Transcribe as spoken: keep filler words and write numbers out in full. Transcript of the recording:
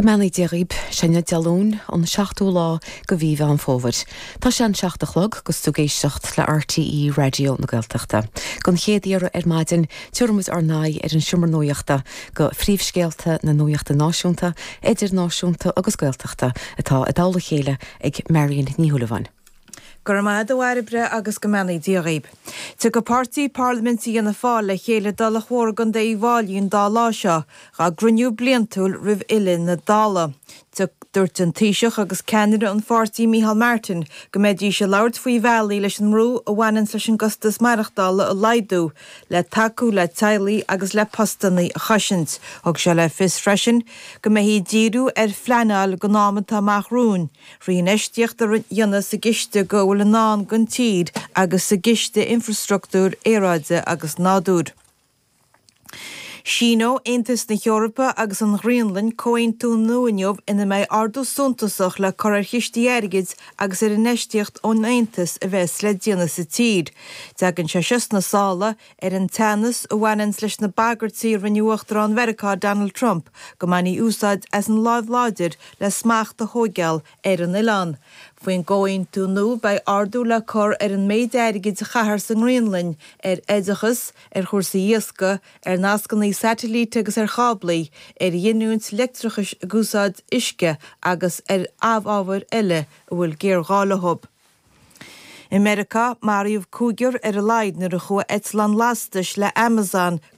Go mbeannaí Dia dhaoibh, sin Dé Luain an seachtú lá de mhí Mheán Fómhair. Tá sé an seacht a chlog agus tú ag éisteacht le RTÉ Raidió na Gaeltachta. Don chéad iarraidh ar maidin tabharfaimid ár n-aghaidh ar an seomra nuachta go phríomhscéalta na nuachta náisiúnta, idirnáisiúnta agus Gaeltachta atá i dtoll a chéile ag Marion Ní Shúilleabháin. Go raibh maith agat a Bhairbre agus go mbeannaí Dia dhaoibh. Tiocfaidh páirtí parlaiminte Fhianna Fáil le chéile i dTulach Mhór i gContae Uíbh Fhailí an dá lá seo dá gcruinniú bliantúil roimh fhilleadh na Dála. Dúirt an Taoiseach agus ceannaire an pháirtí Micheál Martin go mbeidís ag labhairt faoi bhealaí leis an mbrú a bhaineann leis an gcostas maireachtála a laghdú, le tacú le teaghlaigh agus le postanna a chosaint. Thug sé le fios freisin go mbeifí ag díriú ar phleanáil don am atá amach romhainn, trí infheistíocht a dhéanamh sa gciste go bhfuil i ndán don tír agus sa gciste infreastruchtúir aeráide agus nádúir. Síneoidh Aontas na hEorpa agus an Ghraonlainn comhaontú nua inniu ina mbeidh ardú suntasach le cur ar chistí airgid agus ar infheistíocht ón Aontas a bheas le déanamh sa tír. Tagann sé seo sna sála ar an teannas a bhaineann leis na bagairtí a rinne Uachtarán Mheiriceá Donald Trump go mbainfí úsáid as an láimh láidir le smacht a thógáil ar an oileán. Faoin gcomhaontú nua beidh ardú le cur ar an méid airgid a chaithfear sa nGraonlainn ar oideachas, ar chúrsaí iascaigh, ar nascanna satailíte agus ar cháblaí, ar ghiniúint leictreachais ag úsáid uisce agus ar amhábhair eile a bhfuil géarghá leo. I Meiriceá maraíodh cúigear ar a laghad nuair a chuaigh eitleán lastais le Amazon